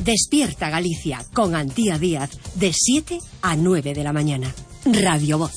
Despierta Galicia con Antía Díaz de 7 a 9 de la mañana. Radio Voz.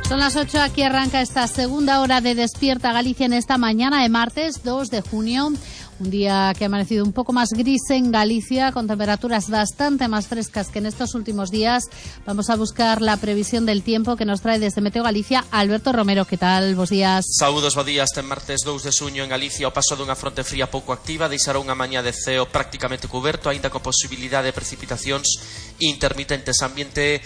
Son las 8, aquí arranca esta segunda hora de Despierta Galicia en esta mañana de martes 2 de junio. Un día que ha amanecido un poco más gris en Galicia, con temperaturas bastante más frescas que en estos últimos días. Vamos a buscar la previsión del tiempo que nos trae desde Meteo Galicia Alberto Romero. ¿Qué tal? Bos días. Saúdos, bo días. Este martes 2 de xuño en Galicia o paso dunha fronte fría pouco activa deixará unha mañá de ceo prácticamente cuberto, aínda con posibilidade de precipitacións intermitentes, ambiente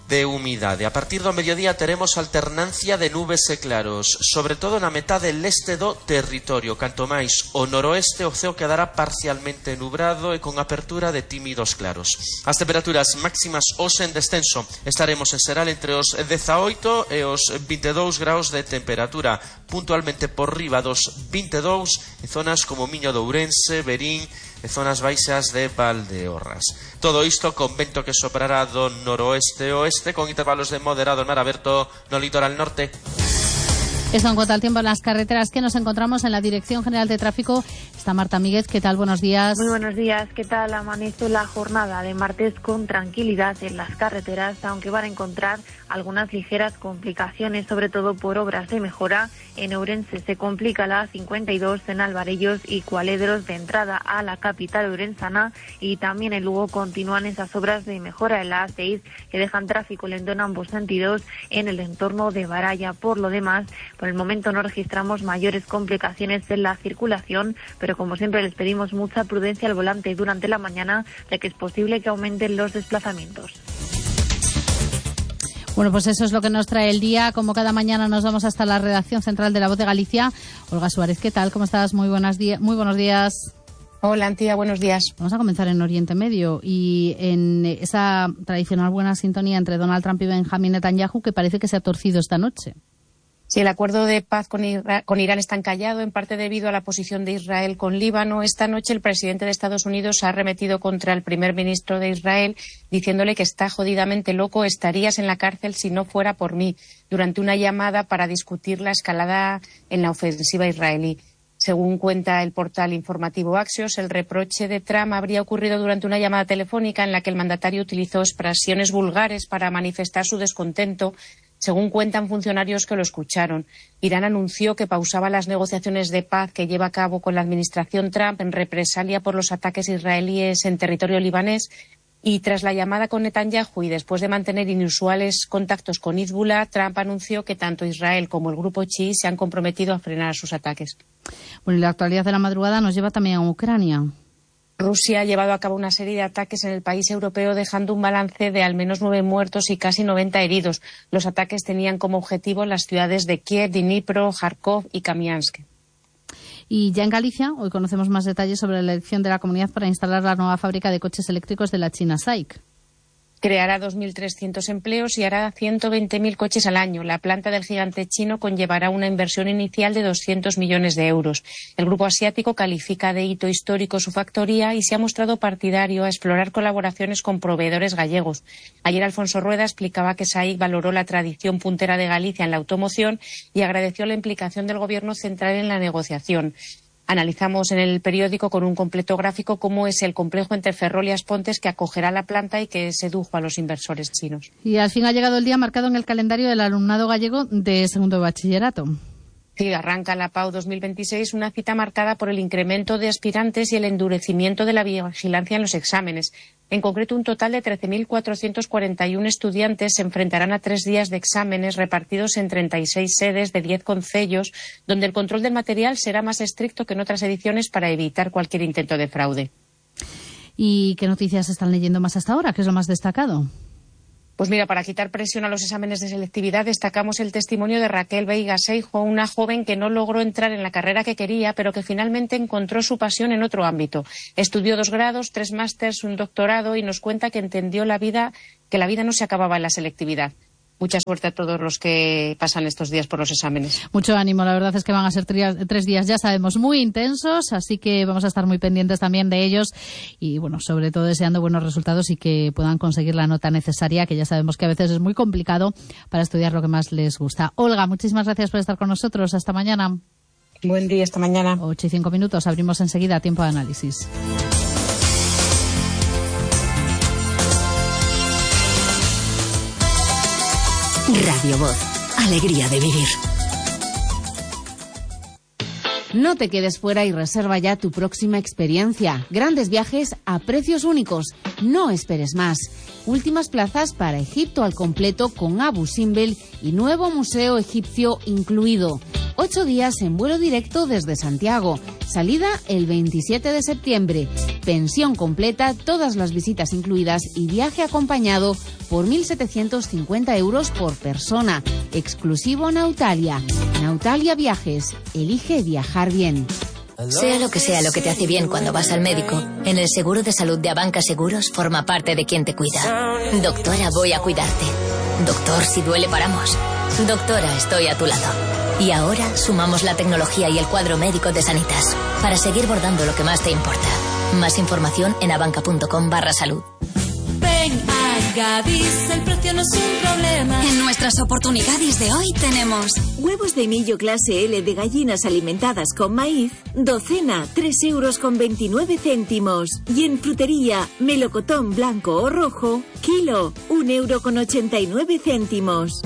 de humidade. A partir do mediodía teremos alternancia de nubes e claros, sobre todo na metade leste do territorio. Canto máis o noroeste, o ceo quedará parcialmente nubrado e con apertura de tímidos claros. As temperaturas máximas hoxe en descenso. Estaremos en Seral entre os 18 e os 22 graus de temperatura, puntualmente por riba dos 22 en zonas como Miño de Ourense, Verín e zonas baixas de Valdeorras. Todo isto con vento que soprará do noroeste e oeste, con intervalos de moderado en mar aberto no litoral norte. Esto en cuanto al tiempo en las carreteras que nos encontramos en la Dirección General de Tráfico. Está Marta Míguez. ¿Qué tal? Buenos días. Muy buenos días. ¿Qué tal? Amanece la jornada de martes con tranquilidad en las carreteras, aunque van a encontrar algunas ligeras complicaciones, sobre todo por obras de mejora. En Ourense se complica la 52 en Alvarellos y Cualedros de entrada a la capital ourensana, y también en Lugo continúan esas obras de mejora en la A6 que dejan tráfico lento en ambos sentidos en el entorno de Baralla. Por lo demás, por el momento no registramos mayores complicaciones en la circulación, pero como siempre les pedimos mucha prudencia al volante durante la mañana, ya que es posible que aumenten los desplazamientos. Bueno, pues eso es lo que nos trae el día. Como cada mañana nos vamos hasta la redacción central de La Voz de Galicia. Olga Suárez, ¿qué tal? ¿Cómo estás? Muy buenos días. Hola, Antía, buenos días. Vamos a comenzar en Oriente Medio y en esa tradicional buena sintonía entre Donald Trump y Benjamín Netanyahu, que parece que se ha torcido esta noche. Sí, el acuerdo de paz con Irán está encallado, en parte debido a la posición de Israel con Líbano. Esta noche el presidente de Estados Unidos ha arremetido contra el primer ministro de Israel, diciéndole que está jodidamente loco, estarías en la cárcel si no fuera por mí, durante una llamada para discutir la escalada en la ofensiva israelí. Según cuenta el portal informativo Axios, el reproche de Trump habría ocurrido durante una llamada telefónica en la que el mandatario utilizó expresiones vulgares para manifestar su descontento. Según cuentan funcionarios que lo escucharon, Irán anunció que pausaba las negociaciones de paz que lleva a cabo con la administración Trump en represalia por los ataques israelíes en territorio libanés, y tras la llamada con Netanyahu y después de mantener inusuales contactos con Hezbollah, Trump anunció que tanto Israel como el grupo chií se han comprometido a frenar sus ataques. Bueno, y la actualidad de la madrugada nos lleva también a Ucrania. Rusia ha llevado a cabo una serie de ataques en el país europeo, dejando un balance de al menos 9 muertos y casi 90 heridos. Los ataques tenían como objetivo las ciudades de Kiev, Dnipro, Kharkov y Kamiansk. Y ya en Galicia, hoy conocemos más detalles sobre la elección de la comunidad para instalar la nueva fábrica de coches eléctricos de la china SAIC. Creará 2.300 empleos y hará 120.000 coches al año. La planta del gigante chino conllevará una inversión inicial de 200 millones de euros. El grupo asiático califica de hito histórico su factoría y se ha mostrado partidario a explorar colaboraciones con proveedores gallegos. Ayer Alfonso Rueda explicaba que SAIC valoró la tradición puntera de Galicia en la automoción y agradeció la implicación del Gobierno central en la negociación. Analizamos en el periódico con un completo gráfico cómo es el complejo entre Ferrol y Aspontes que acogerá la planta y que sedujo a los inversores chinos. Y al fin ha llegado el día marcado en el calendario del alumnado gallego de segundo de bachillerato. Sí, arranca la PAU 2026, una cita marcada por el incremento de aspirantes y el endurecimiento de la vigilancia en los exámenes. En concreto, un total de 13.441 estudiantes se enfrentarán a 3 días de exámenes repartidos en 36 sedes de 10 concellos, donde el control del material será más estricto que en otras ediciones para evitar cualquier intento de fraude. ¿Y qué noticias están leyendo más hasta ahora? ¿Qué es lo más destacado? Pues mira, para quitar presión a los exámenes de selectividad destacamos el testimonio de Raquel Veiga Seijo, una joven que no logró entrar en la carrera que quería, pero que finalmente encontró su pasión en otro ámbito. Estudió 2 grados, 3 másters, un doctorado y nos cuenta que entendió que la vida no se acababa en la selectividad. Mucha suerte a todos los que pasan estos días por los exámenes. Mucho ánimo, la verdad es que van a ser 3 días, ya sabemos, muy intensos, así que vamos a estar muy pendientes también de ellos y, bueno, sobre todo deseando buenos resultados y que puedan conseguir la nota necesaria, que ya sabemos que a veces es muy complicado para estudiar lo que más les gusta. Olga, muchísimas gracias por estar con nosotros. Hasta mañana. Buen día, esta mañana. 8:05, abrimos enseguida Tiempo de Análisis. Radio Voz, alegría de vivir. No te quedes fuera y reserva ya tu próxima experiencia. Grandes viajes a precios únicos. No esperes más. Últimas plazas para Egipto al completo con Abu Simbel y nuevo museo egipcio incluido. 8 días en vuelo directo desde Santiago. Salida el 27 de septiembre. Pensión completa, todas las visitas incluidas y viaje acompañado por 1.750 euros por persona. Exclusivo Nautalia. Nautalia Viajes. Elige viajar bien. Sea lo que te hace bien cuando vas al médico, en el seguro de salud de Abanca Seguros forma parte de quien te cuida. Doctora, voy a cuidarte. Doctor, si duele paramos. Doctora, estoy a tu lado. Y ahora sumamos la tecnología y el cuadro médico de Sanitas para seguir bordando lo que más te importa. Más información en abanca.com/salud. Ven a Gadis, el precio no es un problema. En nuestras oportunidades de hoy tenemos huevos de millo clase L de gallinas alimentadas con maíz, docena, 3,29 €. Y en frutería, melocotón blanco o rojo, kilo, 1,89 €.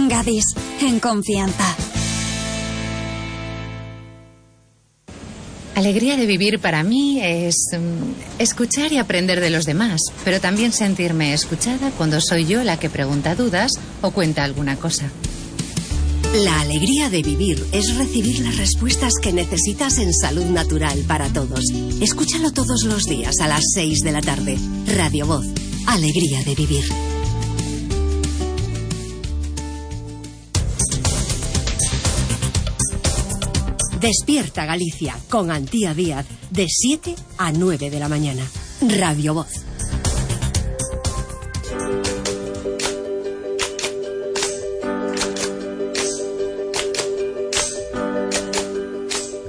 Gadis, en confianza. Alegría de vivir para mí es escuchar y aprender de los demás, pero también sentirme escuchada cuando soy yo la que pregunta dudas o cuenta alguna cosa. La alegría de vivir es recibir las respuestas que necesitas en Salud Natural para Todos. Escúchalo todos los días a las 6 de la tarde. Radio Voz, alegría de vivir. Despierta Galicia con Antía Díaz de 7 a 9 de la mañana. Radio Voz.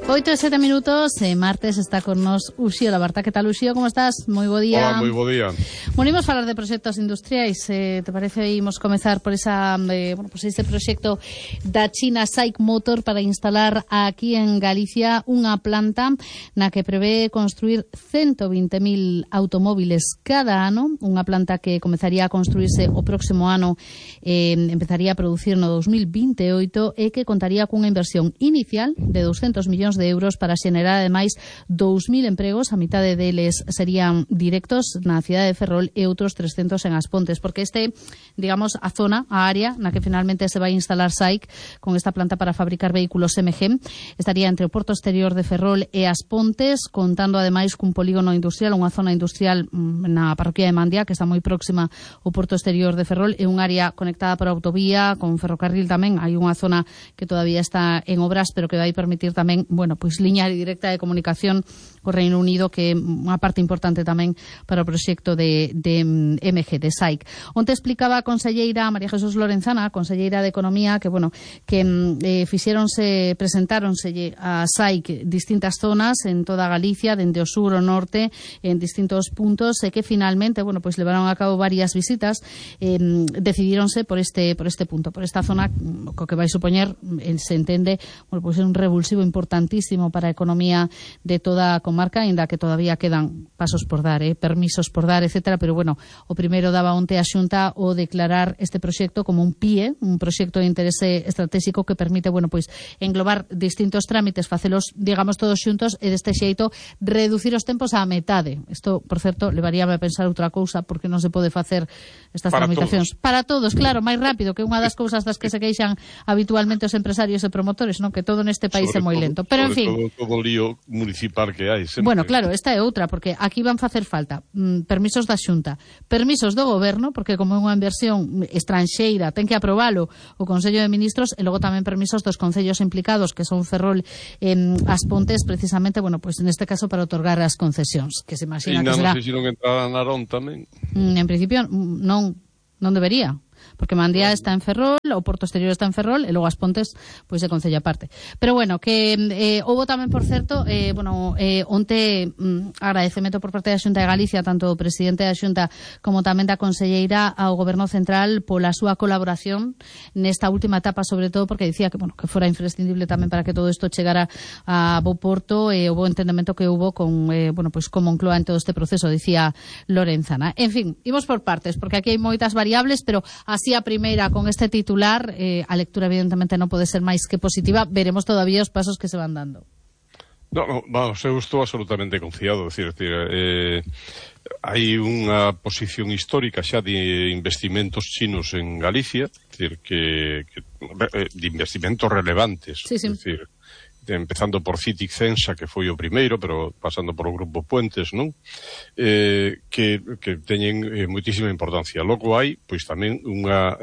Oito e 7 minutos, martes está con nos Uxío Labarta. Que tal, Uxío? Como estás? Moi bo día. Hola, moi bo día. Bueno, imos falar de proxectos industriais. Te parece imos comezar por esa este proxecto da China SAIC Motor para instalar aquí en Galicia unha planta na que prevé construir 120.000 automóviles cada ano, unha planta que comezaría a construirse o próximo ano, empezaría a producir no 2028 e que contaría cunha inversión inicial de 200 millóns de euros para xenerar ademais 2.000 empregos, a mitade deles serían directos na cidade de Ferrol e outros 300 en As Pontes, porque digamos, a zona, a área na que finalmente se vai instalar SAIC con esta planta para fabricar vehículos MG, estaría entre o Porto Exterior de Ferrol e As Pontes, contando ademais cun polígono industrial, unha zona industrial na parroquia de Mandia, que está moi próxima ao Porto Exterior de Ferrol, e un área conectada por autovía, con ferrocarril tamén. Hai unha zona que todavía está en obras, pero que vai permitir tamén, pois liña directa de comunicación co Reino Unido, que é unha parte importante tamén para o proxecto de MG, de SAIC. Onte explicaba a conselleira María Jesús Lorenzana, a conselleira de Economía, que presentáronse a SAIC distintas zonas en toda Galicia, dende o sur ao norte, en distintos puntos, e que finalmente, pois levaron a cabo varias visitas, decidíronse por este punto, por esta zona, co que vai supoñer, se entende, pois é un revulsivo importantísimo para a economía de toda a comarca, aínda que todavía quedan pasos por dar, permisos por dar, etcétera, pero o primeiro daba onte a Xunta o declarar este proxecto como un PIE, un proxecto de interese estratégico que permite, pois englobar distintos trámites, facelos, digamos, todos xuntos e deste xeito reducir os tempos á metade. Isto, por certo, levaríame a pensar outra cousa, porque non se pode facer estas tramitacións para todos, claro, máis rápido, que unha das cousas das que se queixan habitualmente os empresarios e promotores, non, que todo neste país é moi lento. Pero en fin, todo o lío municipal que hai sempre. Claro, esta é outra, porque aquí van facer falta permisos da Xunta, permisos do Goberno, porque como é unha inversión estranxeira ten que aprobalo o Consello de Ministros, e logo tamén permisos dos concellos implicados, que son Ferrol e As Pontes, precisamente, pois neste caso para otorgar as concesións, que se imagina que será. Non sei se non entrará Narón tamén. En principio non debería, porque Mandía está en Ferrol, o Porto Exterior está en Ferrol, e logo As Pontes, pois de concello aparte. Pero bueno, que houbo tamén, por certo, onte agradecemento por parte da Xunta de Galicia, tanto o presidente da Xunta como tamén da conselleira ao Goberno Central pola súa colaboración nesta última etapa, sobre todo porque dicía que, que fora imprescindible tamén para que todo isto chegara a bo porto e o bo entendemento que hubo con, con Moncloa en todo este proceso, dicía Lorenzana. En fin, imos por partes, porque aquí hai moitas variables, pero así a primeira, con este titular, a lectura evidentemente non pode ser máis que positiva. Veremos todavía os pasos que se van dando. Vamos, eu estou absolutamente confiado, hai unha posición histórica xa de investimentos chinos en Galicia, de investimentos relevantes, empezando por Citic Censa, que foi o primeiro, pero pasando por o Grupo Puentes, non? Que teñen moitísima importancia. Logo hai, pois tamén unha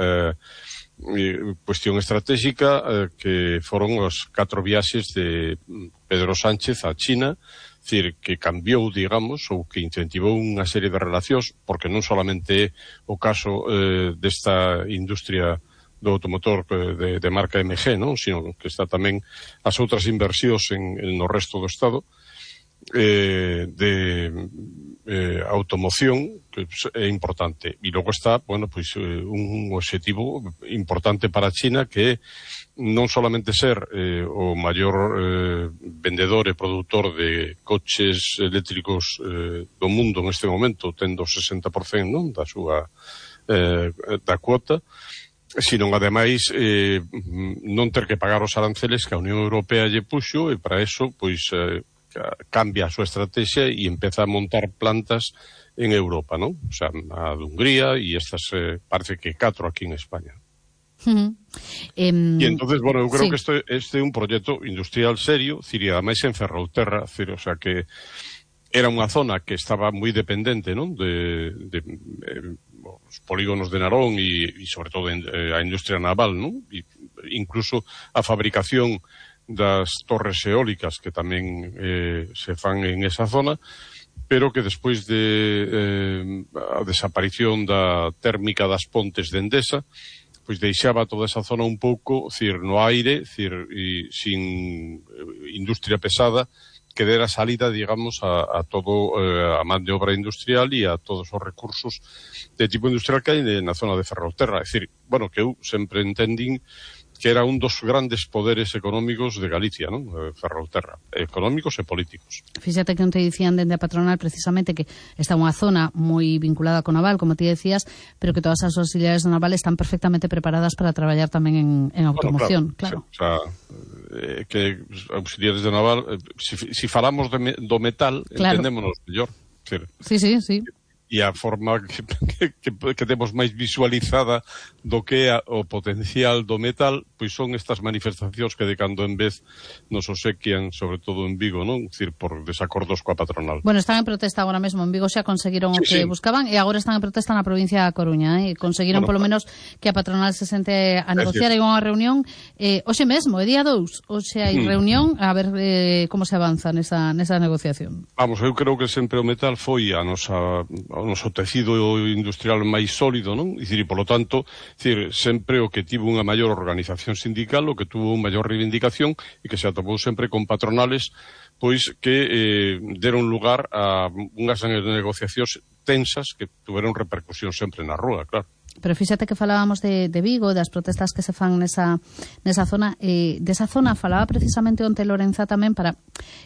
cuestión estratégica que foron os 4 viaxes de Pedro Sánchez a China, que cambiou, digamos, ou que incentivou unha serie de relacións, porque non solamente é o caso desta industria do automotor de marca MG, non? Sino que está tamén as outras inversións no resto do Estado de automoción, que é importante. E logo está, un objetivo importante para China, que é non solamente ser o maior vendedor e produtor de coches eléctricos do mundo en este momento, tendo 60%, non, da súa da cuota, sino ademais non ter que pagar os aranceles que a Unión Europea lle puxo, e para eso cambia a súa estrategia e empeza a montar plantas en Europa, non? O sea, a de Hungría e estas parece que 4 aquí en España. E entonces, eu creo que este é un proxecto industrial serio, ademais en Ferrolterra, o sea que era unha zona que estaba moi dependente, non? De os polígonos de Narón e sobre todo a industria naval, non? E incluso a fabricación das torres eólicas que tamén se fan en esa zona, pero que despois de a desaparición da térmica das Pontes de Endesa, pois deixaba toda esa zona un pouco, no aire, sin industria pesada, que dera salida, digamos, a todo a man de obra industrial e a todos os recursos de tipo industrial que hai na zona de Ferrolterra. É dicir, que eu sempre entendín que era un dos grandes poderes económicos de Galicia, non? Ferrolterra, económicos e políticos. Fíxate que onte dicían dende a patronal precisamente que está unha zona moi vinculada con naval, como ti decías, pero que todas as auxiliares do naval están perfectamente preparadas para traballar tamén en automoción. Claro. O sea, que auxiliares do naval, si falamos do metal, entendémonos mellor. Sí. E a forma que temos máis visualizada do que é o potencial do metal, pois son estas manifestacións que de cando en vez nos obsequian, sobre todo en Vigo, non? Dicir, por desacordos coa patronal. Están en protesta agora mesmo en Vigo, xa conseguiron o que buscaban, e agora están en protesta na provincia da Coruña, e conseguiron polo menos que a patronal se sente a negociar, e unha reunión hoxe mesmo, é día 2, hoxe hai reunión, a ver como se avanza nesa negociación. Eu creo que sempre o metal foi o noso tecido industrial máis sólido, non? E polo tanto, sempre o que tivo unha maior organización sindical, o que tuvo unha maior reivindicación, e que se atopou sempre con patronales pois que deron lugar a unhas negociacións tensas que tuveron repercusión sempre na rúa, claro. Pero fíxate que falábamos de Vigo, das protestas que se fan nesa zona. Desa zona falaba precisamente onte Lorenza tamén para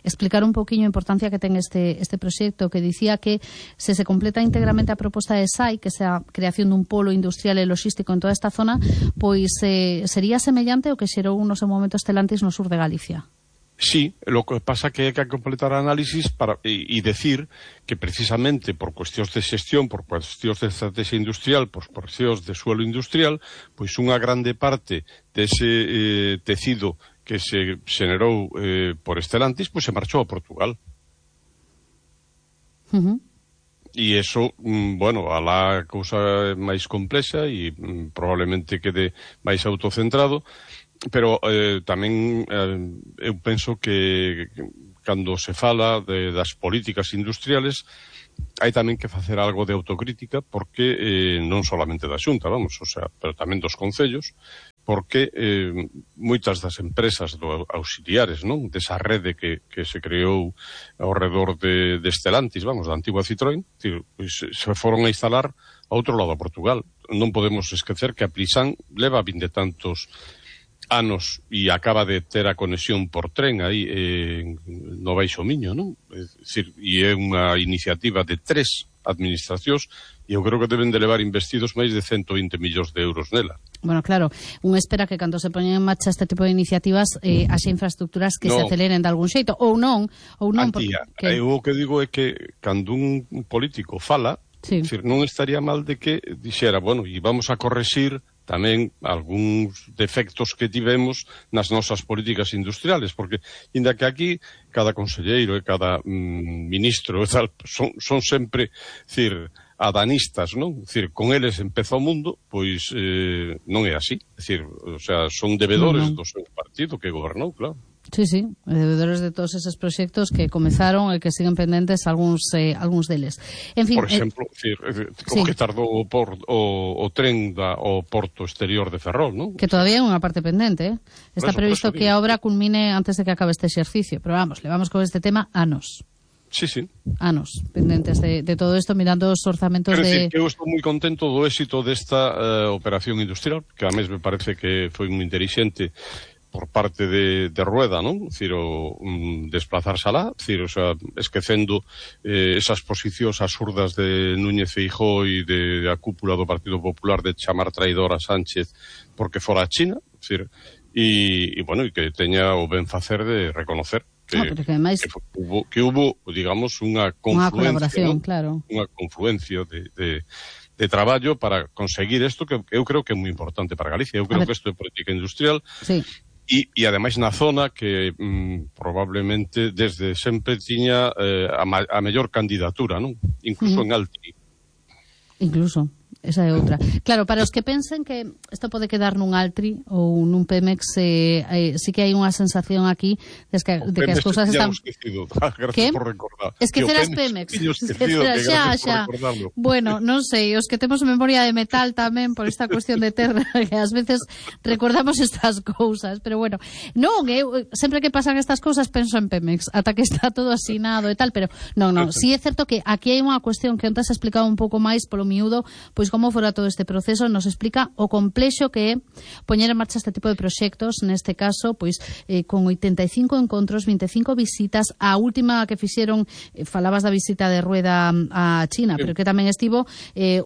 explicar un pouquiño a importancia que ten este proxecto, que dicía que se completa íntegramente a proposta de SAI, que sea a creación dun polo industrial e logístico en toda esta zona, pois sería semellante ao que xerou no seu momento Stellantis no sur de Galicia. Sí, lo que pasa que hai que completar análisis e decir que precisamente por cuestións de xestión, por cuestións de estrategia industrial, por cuestións de suelo industrial, pois unha grande parte dese tecido que se xenerou por Stellantis, pois se marchou a Portugal. E iso, alá a cousa máis complexa e probablemente quede máis autocentrado, pero tamén eu penso que cando se fala das políticas industriales, hai tamén que facer algo de autocrítica, porque non solamente da Xunta, pero tamén dos concellos, porque moitas das empresas auxiliares, non, desa rede que se creou ao redor de Stellantis, da antigua Citroën, se foron a instalar a outro lado, a Portugal. Non podemos esquecer que a Plisan leva 20 e tantos anos e acaba de ter a conexión por tren aí no Baixo Miño, non? E é unha iniciativa de 3 administracións e eu creo que deben de levar investidos máis de 120 millóns de euros nela. Bueno, claro, un espera que cando se poñen en marcha este tipo de iniciativas as infraestructuras que se aceleren de algún xeito, ou non. Antía, eu o que digo é que cando un político fala, non estaría mal de que dixera, e vamos a correxir tamén algúns defectos que tivemos nas nosas políticas industriales, porque, inda que aquí, cada conselleiro e cada ministro e tal, son sempre, adanistas, non? Con eles empeza o mundo, pois non é así. Son debedores do seu partido que gobernou, claro. Sí, debedores de todos esos proxectos que comezaron e que siguen pendentes algúns deles. En fin, por exemplo, como que tardou o tren ao porto exterior de Ferrol, non? Que todavía é unha parte pendente, Está previsto que a obra culmine antes de que acabe este exercicio, pero levamos con este tema anos. Sí. Anos pendentes de todo isto, mirando os orzamentos de... Eu estou moi contento do éxito desta operación industrial, que a mes me parece que foi moi inteligente por parte de Rueda, non? Desplazarse alá, esquecendo esas posicións absurdas de Núñez Feijóo e da cúpula do Partido Popular de chamar traidor a Sánchez porque fora a China, e que teña o ben facer de reconocer que hubo, digamos, unha confluencia, unha confluencia de traballo para conseguir isto, que eu creo que é moi importante para Galicia. Eu creo que isto é política industrial. E ademais na zona que probablemente desde sempre tiña a mellor candidatura, non? Incluso en Altri. Incluso, esa é outra. Claro, para os que pensen que isto pode quedar nun Altri ou nun Pemex, sí que hai unha sensación aquí de que as cousas están... Gracias por recordar. Esquecer as Pemex. Xa. Bueno, non sei, os que temos memoria de metal tamén por esta cuestión de terra, que ás veces recordamos estas cousas, pero bueno, non, sempre que pasan estas cousas penso en Pemex, ata que está todo asinado e tal, pero non, sí é certo que aquí hai unha cuestión que antes explicaba un pouco máis polo miúdo, pois como fora todo este proceso, nos explica o complexo que é poñer en marcha este tipo de proxectos, neste caso, pois con 85 encontros, 25 visitas, a última que fixeron, falabas da visita de Rueda a China, pero que tamén estivo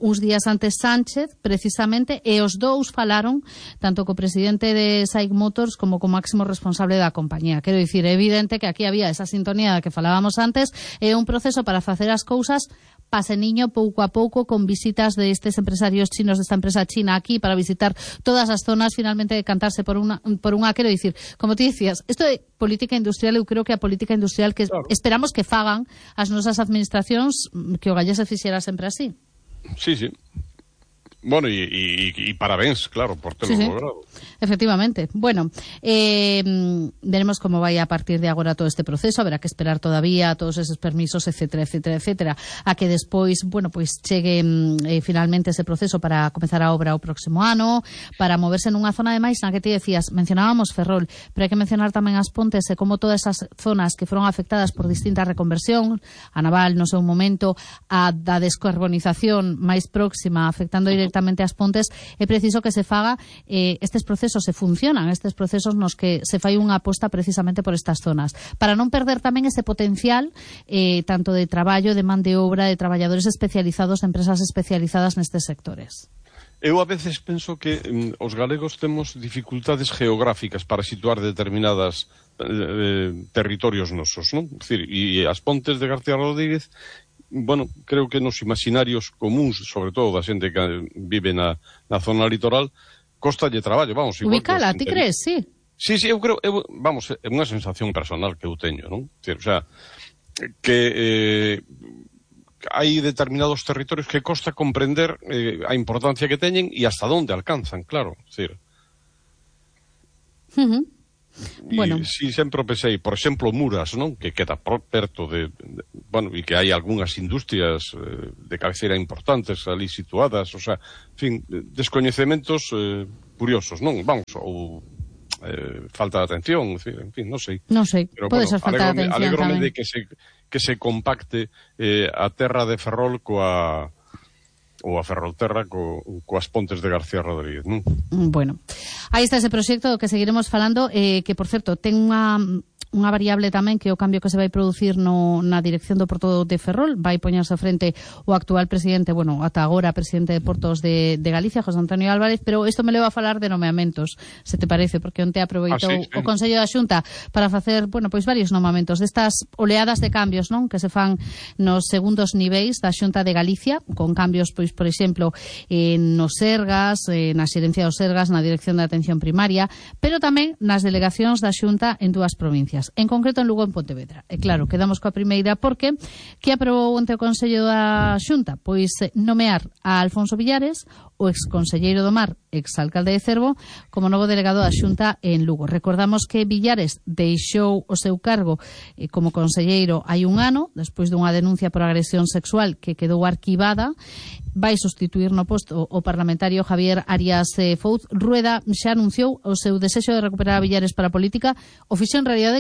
uns días antes Sánchez, precisamente, e os dous falaron tanto co presidente de SAIC Motors como co máximo responsable da compañía. Quero dicir, é evidente que aquí había esa sintonía da que falábamos antes, é un proceso para facer as cousas paseniño pouco a pouco, con visitas de estes empresarios chinos, desta empresa china aquí, para visitar todas as zonas, finalmente decantarse por unha, quero dicir, como ti dicías, isto é política industrial, eu creo que a política industrial que esperamos que fagan as nosas administracións, que o gallés se fixera sempre así. Sí. Bueno, y parabéns, claro, por terlo logrado. Efectivamente. Bueno, veremos como vai a partir de agora todo este proceso, haberá que esperar todavía todos esos permisos, etcétera, a que despois, pois chegue finalmente ese proceso para comezar a obra o próximo ano, para moverse nunha zona de máis na que ti decías, mencionábamos Ferrol, pero hai que mencionar tamén as Pontes e como todas esas zonas que foron afectadas por distintas reconversións, a naval no seu momento, a da descarbonización máis próxima, afectando directamente as Pontes, é preciso que se faga estes procesos se funcionan, estes procesos nos que se fai unha aposta precisamente por estas zonas, para non perder tamén ese potencial tanto de traballo, de man de obra, de traballadores especializados, de empresas especializadas nestes sectores. Eu a veces penso que os galegos temos dificultades geográficas para situar determinadas territorios nosos, non? E as Pontes de García Rodríguez, creo que nos imaginarios comuns, sobre todo da xente que vive na zona litoral, costalle traballo, ubicala, ti crees, sí? Sí, eu creo, é unha sensación personal que eu teño, non? Que hai determinados territorios que costa comprender a importancia que teñen e hasta onde alcanzan, claro, Bueno. Si sempre pensei, por exemplo, Muras, non? Que queda perto e que hai algunhas industrias de cabeceira importantes ali situadas, o sea, en fin, descoñecementos curiosos, non? Vamos, ou falta de atención, en fin, non sei. Non sei, pode ser falta de atención tamén. tamén. De que se compacte a terra de Ferrol ou a Ferrolterra coas Pontes de García Rodríguez, non? Bueno, aí está ese proxecto do que seguiremos falando, que, por certo, ten unha variable tamén, que é o cambio que se vai producir na dirección do Porto de Ferrol. Vai poñerse frente o actual presidente, ata agora presidente de Portos de Galicia, José Antonio Álvarez, pero isto me leva a falar de nomeamentos, se te parece, porque onte aproveitou o Consello da Xunta para facer, varios nomeamentos destas oleadas de cambios, non? Que se fan nos segundos niveis da Xunta de Galicia, con cambios, por exemplo, nos Sergas, na xerencia dos Sergas, na dirección de atención primaria, pero tamén nas delegacións da Xunta en dúas provincias. En concreto en Lugo e en Pontevedra. E claro, quedamos coa primeira porque que aprobou ante o Consello da Xunta? Pois nomear a Alfonso Villares, o exconselleiro do Mar, exalcalde de Cervo, como novo delegado da Xunta en Lugo. Recordamos que Villares deixou o seu cargo como conselleiro hai un ano, despois dunha denuncia por agresión sexual que quedou arquivada. Vai sustituir no posto o parlamentario Javier Arias Fouz. Rueda xa anunciou o seu desexo de recuperar a Villares para a política. O fixo en realidade